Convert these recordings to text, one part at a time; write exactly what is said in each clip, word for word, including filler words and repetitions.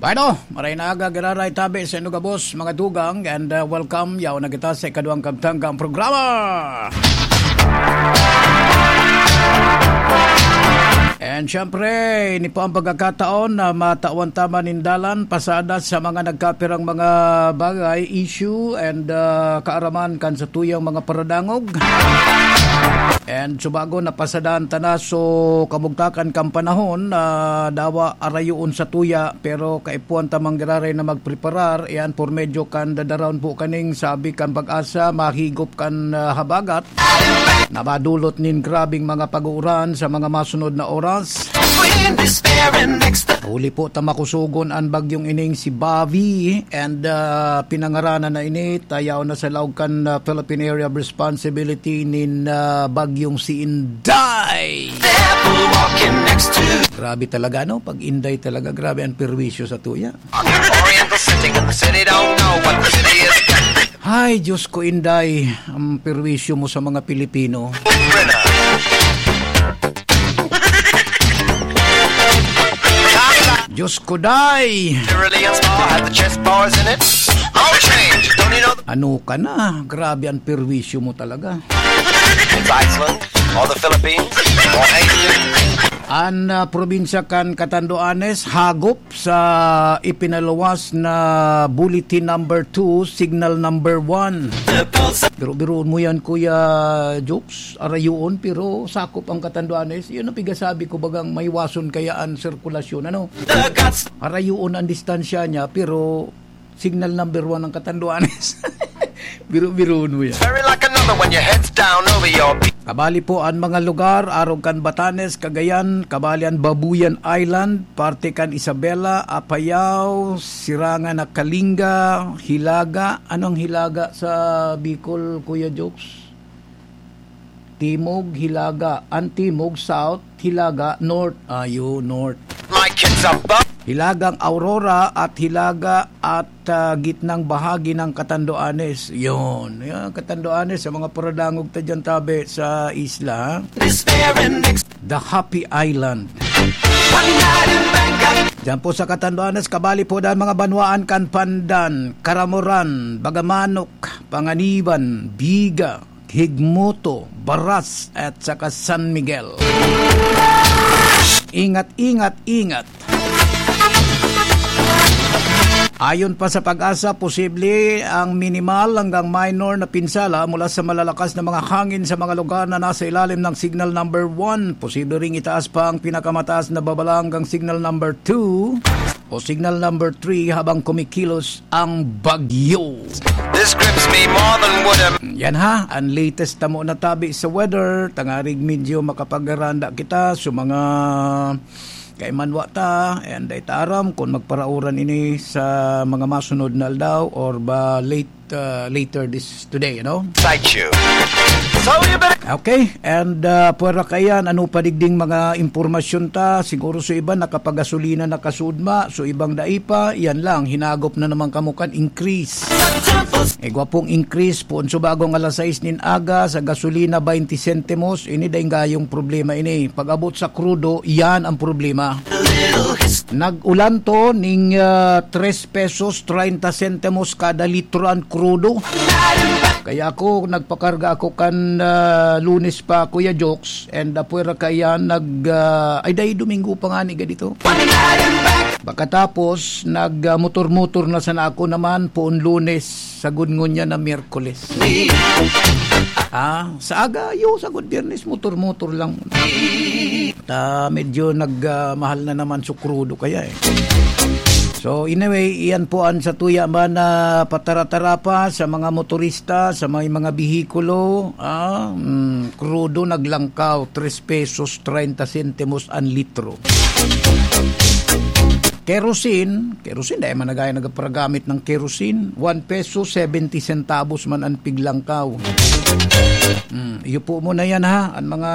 Bueno, maray na aga, giraray tabi sa inyo gabos, mga dugang, and, uh, welcome. Yaw na kita sa ikaduhang kabtanggang programa. And syempre, ini po ang pagkakataon na matawan ta man nin dalan, pasada sa mga nagkapirang mga bagay, issue, and, uh, kaaraman kan satuyang mga paradangog. And subago napasadaan ta na, so kamugtakan kan panahon na dawa arayoon satuya, pero kaipuhan ta man giraray na magpreparar, iyan por medyo kan dadarawon po kaning sabi kan Pag-asa, mahigop kan, ah, habagat na madulot nin grabeng mga pag-uuran sa mga masunod na oras. Huli po ta makusugon an bagyong ining si Bobby, and, ah, pinangaranan na ini, tayaw na sa laog kan, ah, Philippine Area of Responsibility nin, ah, bagyong si Inday. Grabe talaga, no? Pag Inday talaga, grabe ang perwisyo satuya. Oriental City, the city don't know what the city is. Hay, Diyos ko, Inday, ang perwisyo mo sa mga Pilipino. Diyos ko, Day! Cerulean spa had the chess bars in it. All change, don't you know the Ano ka na? Grabe ang perwisyo mo talaga. It's Iceland, or the Philippines, or Haiti. An, ah, probinsya kan Catanduanes, hagop sa ipinaluwas na Bulletin Number Two, Signal Number One. Pero biruon mo yan, Kuya Jokes, arayoon, pero sakop ang Catanduanes. Yun ang pigasabi ko, bagang maiwason kaya an sirkulasyon, ano? Arayoon ang distansya niya, pero signal number one ang Catanduanes. Biro-biroon mo yan. Very like another when your head's down over your Kabali po an mga lugar, arog kan Batanes, Cagayan, kabali an Babuyan Island, parte kan Isabela, Apayao, Sirangan na Kalinga, Hilaga. Anong Hilaga sa Bicol, Kuya Jokes? Timog, Hilaga. An Timog, South, Hilaga, North. Ayo, North. My kids are bu- Hilagang Aurora at Hilaga at, ah, gitnang bahagi ng Catanduanes. Yun. Yan, Catanduanes, sa mga paradangog ta dyan, tabi, sa isla, ha? Despair and ex- The Happy Island. One night in Bangkok. Diyan po sa Catanduanes, kabali po dahil mga banwaan kan Pandan, Caramoran, Bagamanok, Panganiban, Biga, Higmoto, Baras, at saka San Miguel. Ingat, ingat, ingat. Ayon pa sa Pag-asa, posible ang minimal hanggang minor na pinsala mula sa malalakas na mga hangin sa mga lugar na nasa ilalim ng Signal Number One. Posible ring itaas pa ang pinakamataas na babala hanggang Signal Number Two o Signal Number Three habang kumikilos ang bagyo. This grips me more than would a Yan ha, ang latest tamo na tabi sa weather. Tangarig medyo makapagaranda kita sa mga kaimanwa ta, and dai ta aram kung magparauran ini sa mga masunod na aldaw or ba late, uh, later this today, ano? Sight you. So you better Okay, and, uh, pwera kaiyan, ano pa digding mga impormasyon ta? Siguro sa iba nakapagasolina na kasudma, so ibang dai pa, yan lang, hinagop na naman kamo kan increase. Igwa pong increase, poon sa bagong alas sais nin aga, sa gasolina, baynte sentimos, ini daing gayong problema ini. Pag-abot sa krudo, yan ang problema. Nag-ulan to ning, ah, tres pesos treinta sentimos kada litro an krudo. Kaya ako, nagpakarga ako kan, ah, Lunes pa, Kuya Jokes, and, ah, pwera kaiyan nag, ah, ay, dai, Domingo pa nga ni ganito. Pagkatapos, nag, ah, motor-motor na sana ako naman, poon Lunes, sagod ngunyan na Miyerkules. Ah, sa aga, yo, sagod Biyernes, motor-motor lang. Ta, medyo nag, ah, mahal na naman su krudo kaya eh. So, anyway, iyan po ang satuya man na patara-tara pa sa mga motorista, sa may mga bihikulo. Ah, mm, krudo naglangkaw, tres pesos treinta sentimos an litro. Kerosene, kerosene, dai man na gaya nagparagamit ng kerosene. One peso, seventy centavos man an piglangkaw. Hmm, iyo po muna yan ha, ang mga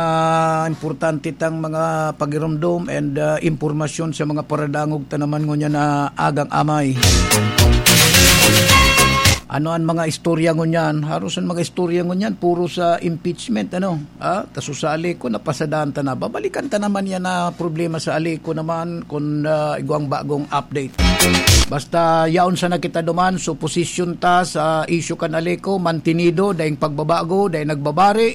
importante tang mga pagirumdom and, ah, impormasyon sa mga paradangog ta naman ngunyan na agang amay. Ano an mga istorya ngunyan? Haros an mga istorya ngunyan, puro sa impeachment, ano? Ah, ta so sa Aleco, napasadahan ta na. Babalikan ta naman yan na problema sa Aleco naman kung, ah, igwang bagong update. Basta yaon sana kita duman, so posisyon ta sa issue kan Aleco, mantenido, daing pagbabago, daing nagbabari,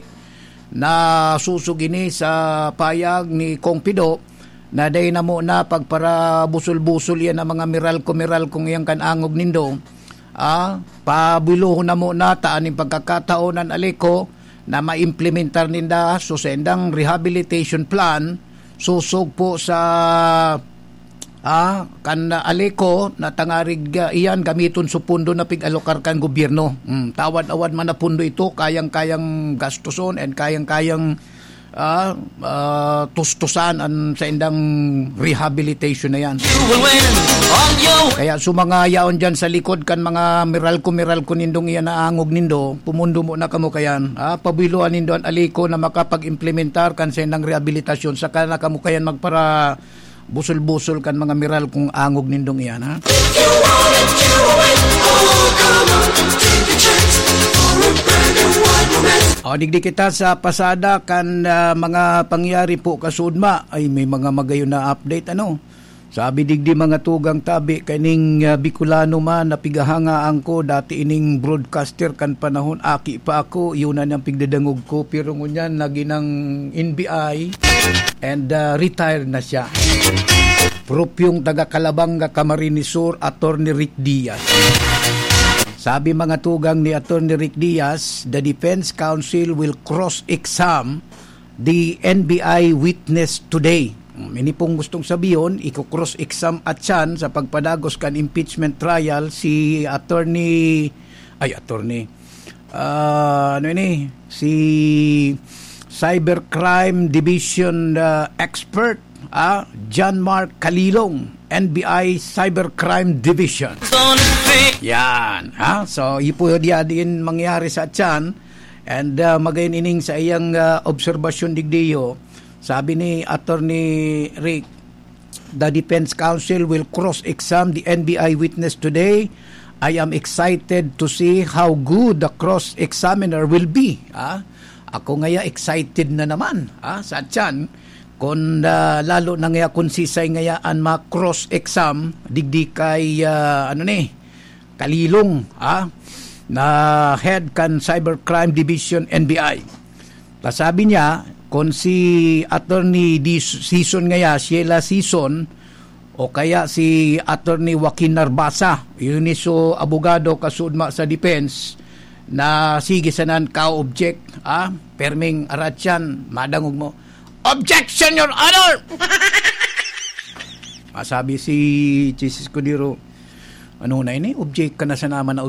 na susog ini sa payag ni Kong Pido, na dai na mo na pagparabusol-busol yan ang mga Meralco-Meralcong iyan kan angog nindo. Ah, pabulohon na mo na ta aning pagkakataon an Aleco na maimplementar ninda so sendang rehabilitation plan susog po sa, ah, kan Aleco na tangarig, ah, iyan gamiton so pondo na pig-alokar kan gobyerno. Hmm, tawad-awad man na pondo ito, kayang-kayang gastuson and kayang-kayang ah, ah, tustusan an saindang rehabilitation na yan. Kaya sa mga yaon dyan sa likod kan mga Meralco-Meralco nindong iyan na angog nindo, pumundo mo na kamo kayan. Ah, pabulohan nindo an Aleco na makapag-implementar kan saindang rehabilitasyon, saka na kamo kayan magpara busol-busol kan mga Meralcong angog nindong iyan, ha? If you want it, you will win. Oh, come on, take a chance for a brand new wide romance. O, digdi kita sa pasada kan, ah, mga pangyari po kasudma. Ay, may mga magayon na update, ano? Sabi digdi, mga tugang tabi, kaining, ah, Bicolano man na pigahangaan ko, dati ining broadcaster kan panahon, aki pa ako, yun na niyang pigdadangog ko. Pero ngunyan, naging ng N B I and, ah, retired na siya. Propyong taga Calabanga, Camarines Sur, Attorney Rick Diaz. Sabi mga tugang ni Attorney Rick Diaz, the defense counsel will cross-exam the N B I witness today. Hmm, ini pong gustong sabihin, iko-cross-exam at siyan sa pagpadagos kan impeachment trial si Attorney, ay, Attorney, ah, ano ini? Si Cybercrime Division, ah, expert, ah, John Mark Kalilong, N B I Cybercrime Division. Yan, ha? So, ipo diya din mangyari sa tiyan. And, ah, magayon ining sa iyang, ah, obserbasyon digdiyo. Sabi ni Attorney Rick, the defense counsel will cross-exam the N B I witness today. I am excited to see how good the cross-examiner will be. Ah, ako ngaya excited na naman, ah, sa tiyan. Kung, ah, lalo na ngaya kung sisay ngaya an ma-cross-exam, digdi kay, ah, ano ni, Kalilong, ah, na head kan Cybercrime Division, N B I. Kasabi niya, kung si Attorney Dis-, Sison ngaya, Sheila Sison, o kaya si Attorney Joaquin Narbasa, yun ni so abogado kasudma sa defense, na sige sanan ka-object, ah, perming aratyan, madangog mo, "Objection, Your Honor!" Masabi si Chiz Escudero, "Ano na ini? Object ka na sa naman na